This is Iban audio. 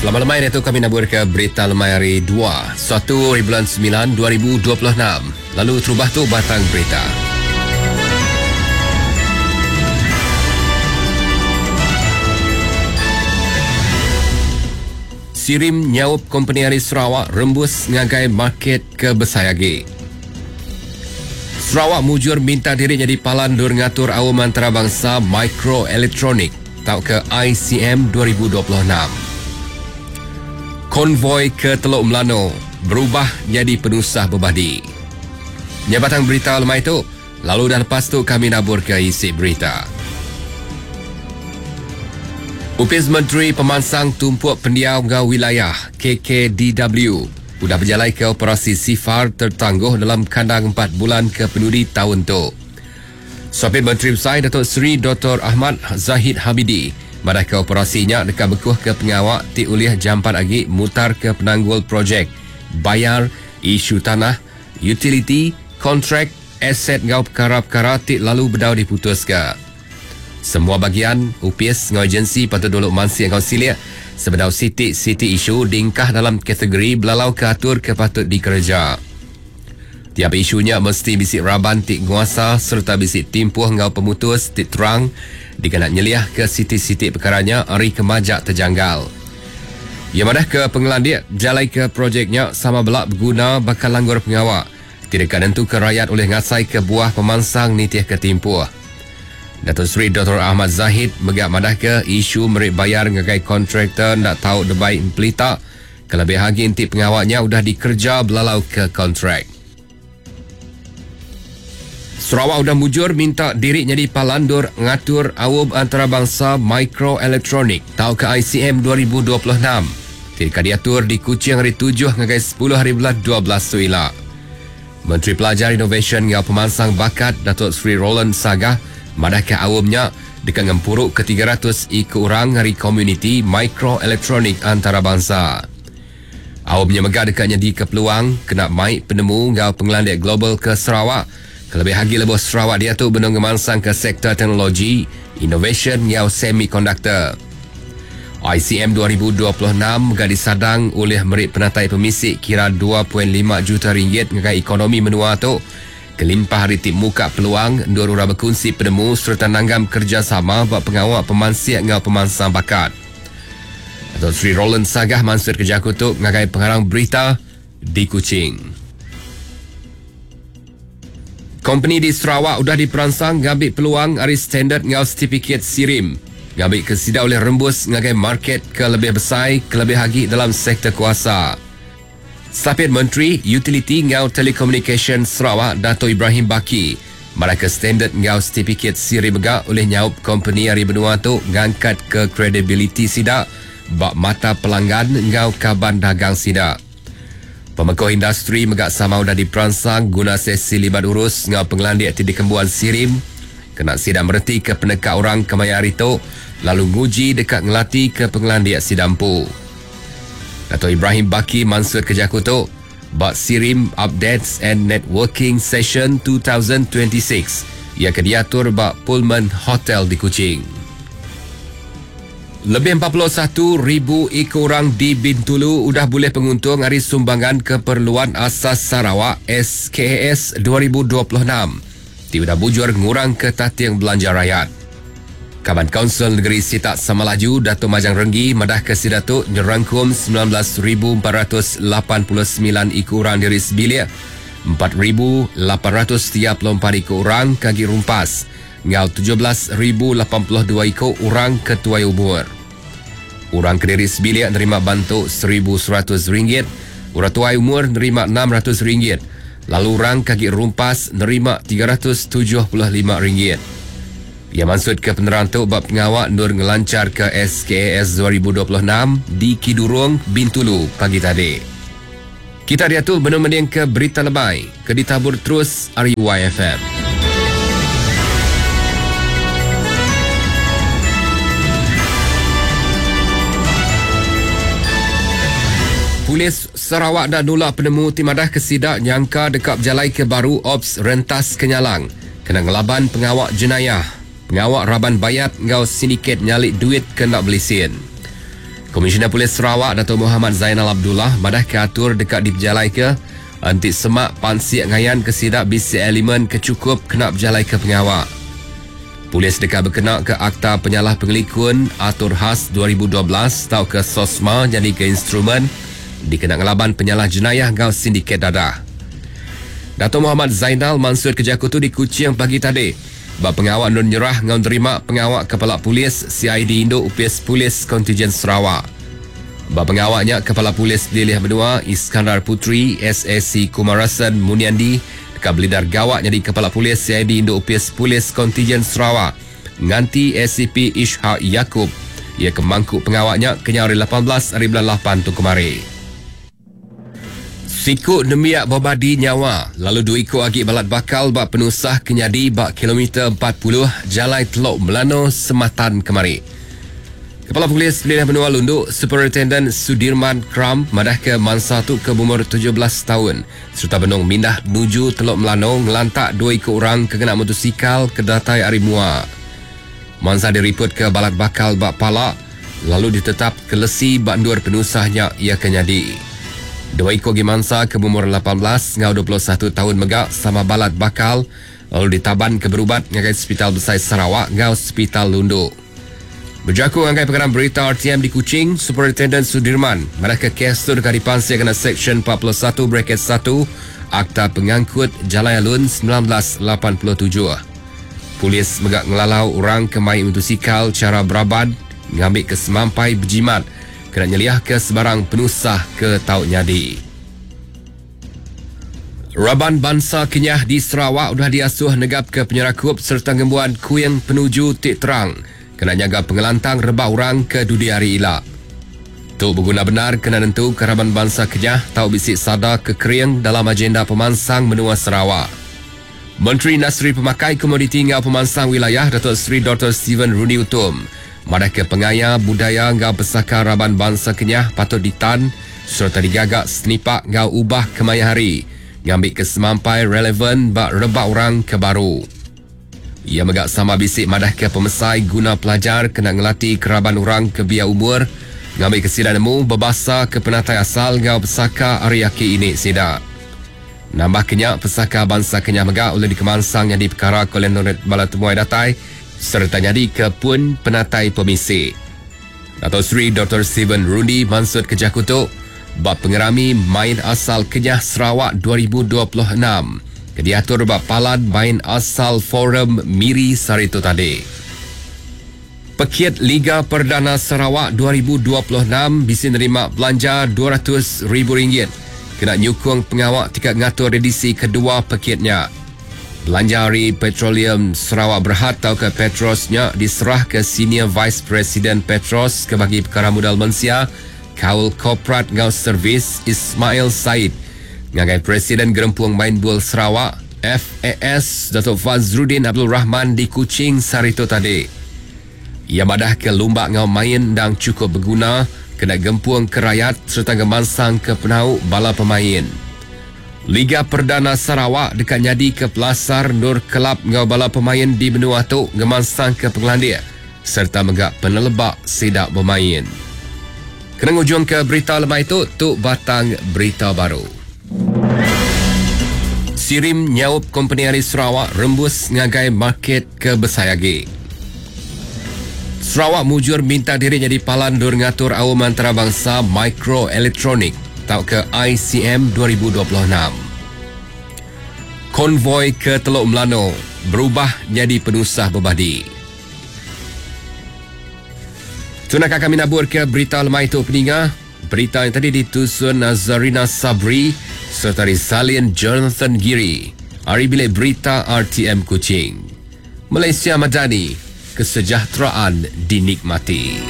Selamat lemai diatu kami nabur ke berita lemai hari 2, 1 hari bulan 9 2026. Lalu terubah tu batang berita. Sirim nyaup kompeni ari Sarawak rembus ngagai market ke besai agi. Sarawak mujur minta diri nyadi palan endur ngatur Aum Antarabangsa Mikroelektronik tauka ICM 2026. Konvoi ke Teluk Melano berubah nyadi penusah bebadi. Nya batang berita lemai tu, lalu udah lepas tu kami naburka isi berita. Opis Menteri Pemansang Tumpuk Pendiau enggau Wilayah, KKDW, udah bejalaika operasi sifar tertangguh dalam kandang empat bulan ke penudi taun tu. Sapit Menteri Besai Datuk Seri Doktor Ahmad Zahid Hamidi madahka operasi nya deka bekuhka pengawa ti ulih jampat agi mutarka penanggul projek, bayar, isu tanah, utiliti, kontrak, aset enggau pekara-pekara ti lalu bedau diputuska. Semua bagian, opis enggau agensi patut dulu mansik enggau silik sebedau siti-siti isu diengkah dalam kategori belalauka atur ke patut dikereja. Tiap isu nya mesti bisi raban ti nguasa sereta bisi timpuh enggau pemutus ti terang dikena nyeliahka siti-siti pekara nya ari ke majak tejanggal. Iya madahka pengelandik bejalaika projek nya sama bela beguna baka langgur pengawa ti deka nentuka rayat ulih ngasaika buah pemansang nitihka timpuh. Datuk Seri Doktor Ahmad Zahid mega madahka isu meri bayar ngagai kontraktor enda tau debai empelita kelebih agi enti pengawa nya udah dikereja belalauka kontrak. Sarawak udah mujur minta diri nyadi palan endur ngatur Aum Antarabangsa Mikroelektronik tauka ICM 2026 ti deka diatur di Kuching hari tujuh ngagai sepuluh hari bulan 12 tu ila. Menteri Pelajar Inovasyen enggau Pemansang Bakat Datuk Seri Roland Sagah madahka aum nya deka ngempuruka 300 iku orang ari komuniti mikroelektronik antarabangsa. Aum nya mega deka nyadika peluang kena mai penemu enggau pengelandik global ke Sarawak kelebih agi lebuh Sarawak diatu benung ngemansangka sektor teknologi, inovasyen enggau semikonduktor. ICM 2026 mega disadang ulih meri penatai pemisi kira 2.5 juta ringgit ngagai ekonomi menua tu kelimpah ari ti muka peluang endur orang bekunsi penemu sereta nanggam kerejasama ba pengawa pemansik enggau pemansang bakat. Datuk Seri Roland Sagah mansutka jaku tu ngagai pengarang berita di Kuching. Kompeni di Sarawak udah diperansang ngambi peluang ari standard enggau setipikit SIRIM ngambika sida ulih rembus ngagai market ke lebih besai kelebih agi dalam sektor kuasa. Sapit Menteri Utiliti enggau Telekomunikasyen Sarawak Dato Ibrahim Baki madahka standard enggau setipikit siri mega ulih nyaup kompeni ari menua tu ngangkatka kredibiliti sida ba mata pelanggan enggau kaban dagang sida. Pemekuh industri mega sama udah diperansang guna sesi libat urus enggau pengelandik ti dikembuan Sirim kena sida meretika peneka orang kemaya hari tu lalu nguji deka ngelatika pengelandik sida empu. Dato Ibrahim Baki mansutka jaku tu ba Sirim Updates and Networking Session 2026 iya ke diatur ba Pullman Hotel di Kuching. Lebih 41,000 iku orang di Bintulu udah bulih penguntung ari Sumbangan Keperluan Asas Sarawak, SKAS, 2026 ti udah mujur ngurangka tating belanja rayat. Kaban Kaunsil Negeri Sitak Samalaju Dato Majang Renggi madahka sida tu nyerangkum 19,489 iku orang diri sebilik, 4,834 iku orang ke agi rumpas enggau 17,082 iku orang ke tuai umur. Orang ke diri sebilik nerima bantu RM1,100, orang tuai umur nerima RM600 lalu orang ke agi rumpas nerima RM375. Iya mansutka penerang tu ba pengawa endur ngelancharka SKAS 2026 di Kidurong, Bintulu pagi tadi. Kita diatu benung mendingka Berita Lemai ke ditabur terus ari YFM. Polis Sarawak enda nulak penemu ti madahka sida nyangka deka bejalaika baru Ops Rentas Kenyalang kena ngelaban pengawa jenayah, pengawa raban bayat enggau sindiket nyali duit ke enda belisin. Komisioner Polis Sarawak Datuk Mohamad Zainal Abdullah madahka atur deka dipejalaika enti sema pansik ngayanka sida bisi elemen ke chukup kena bejalaika pengawa. Polis deka bekenaka Akta Penyalah Pengelikun Atur Khas 2012 tauka SOSMA nyadika instrumen dikena ngelaban penyalah jenayah enggau sindiket dadah. Datuk Mohamad Zainal mansutka jaku tu di Kuching pagi tadi ba pengawa endur nyerah enggau nerima pengawa Kepala Polis CID Indu Opis Polis Kontijen Sarawak. Ba pengawa nya Kepala Polis Pelilih Menua Iskandar Puteri SAC Kumarasan Muniandy deka belidar gawa nyadi Kepala Polis CID Indu Opis Polis Kontijen Sarawak nganti ACP Ishak Yakup iya ke mangku pengawa nya kenyau ari 18 ari bulan lapan tu kemari. Siku nembiak bebadi nyawa lalu dua iku agi balat bakal ba penusah ke nyadi ba kilometer 40 Jalai Telok Melano Sematan kemari. Kepala Polis Pelilih Menua Lundu, Superintenden Sudirman Kram madahka mansa tu ke beumur 17 taun sereta benung mindah nuju Telok Melano ngelantak dua iku orang ke ngena motosikal ke datai ari mua. Mansa diripotka balat bakal ba pala lalu ditetap ke lesi ba endur penusah nya iya ke nyadi. Dua iku agi mansa ke beumur 18 enggau 21 taun mega sama balat bakal lalu ditaban ke berubat ngagai Sepital Besai Sarawak enggau Sepital Lundu. Bejaku ngagai pengarang berita RTM di Kuching, Superintenden Sudirman madahka kes tu deka dipansik kena Seksyen 41 bracket 1 Akta Pengangkut Jalai Alun 1987. Polis mega ngelalau orang ke mai mutosikal chara beraban ngambika semampai bejimat kena nyeliahka sebarang penusah ke tau nyadi. Raban bansa Kenyah di Sarawak udah diasuh negapka penyerakup sereta ngembuan kuing penuju ti terang kena nyaga pengelantang rebak orang ke dudi hari ila. Tu beguna bendar kena nentuka raban bansa Kenyah tau bisi sada ke kering dalam agenda pemansang menua Sarawak. Menteri Industri Pemakai Komoditi enggau Pemansang Wilayah Datuk Seri Doktor Stephen Rundi Utom madahka pengaya budaya enggau pesaka raban bansa Kenyah patut ditan sereta digaga senipak enggau ubah kemaya hari ngambika semampai relevan ba rebak orang ke baru. Iya mega sama bisi madahka pemesai guna pelajar kena ngelati keraban orang ke biak umur ngambika sida nemu bebasa ke penatai asal enggau pesaka ari aki ini sida. Nambahka nya, pesaka bansa Kenyah mega ulih dikemansang nyadi pekara ke ulih nurut bala temuai datai sereta nyadika pun penatai pemisi. Dato Sri Doktor Stephen Rundi mansutka jaku tu ba Pengerami Main Asal Kenyah Sarawak 2026 ke diatur ba Palan Main Asal Forum Miri sehari tu tadi. Pekit Liga Perdana Sarawak 2026 bisi nerima belanja RM200,000 kena nyukung pengawa ti ka ngatur edisi kedua pekit nya. Belanja ari Petroleum Sarawak Berhad tauka Petros nya diserahka Senior Vice President Petros ke bagi pekara mudal mensia, kaul korporat enggau servis Ismail Said ngagai Presiden Gerempung Main Bul Sarawak, FAS, Datuk Fazruddin Abdul Rahman di Kuching sehari tu tadi. Iya madahka lumba enggau main endang chukup beguna kena gempung ke rayat sereta ngemansangka penau bala pemain. Liga Perdana Sarawak deka nyadika pelasar endur kelab enggau bala pemain di menua tu ngemansangka pengelandik sereta mega peneleba sida bemain. Kena ngujungka berita lemai tu, tu batang berita baru. Sirim nyaup kompeni ari Sarawak rembus ngagai market ke besai agi. Sarawak mujur minta diri nyadi palan endur ngatur Aum Antarabangsa Mikroelektronik tauka ICM 2026. Konvoi ke Telok Melano berubah nyadi penusah bebadi. Tu naka kami naburka berita lemai tu peninga. Berita yang tadi ditusun Nazarina Sabri serta disalin Jonathan Giri ari bilik berita RTM Kuching. Malaysia Madani, kesejahteraan dinikmati.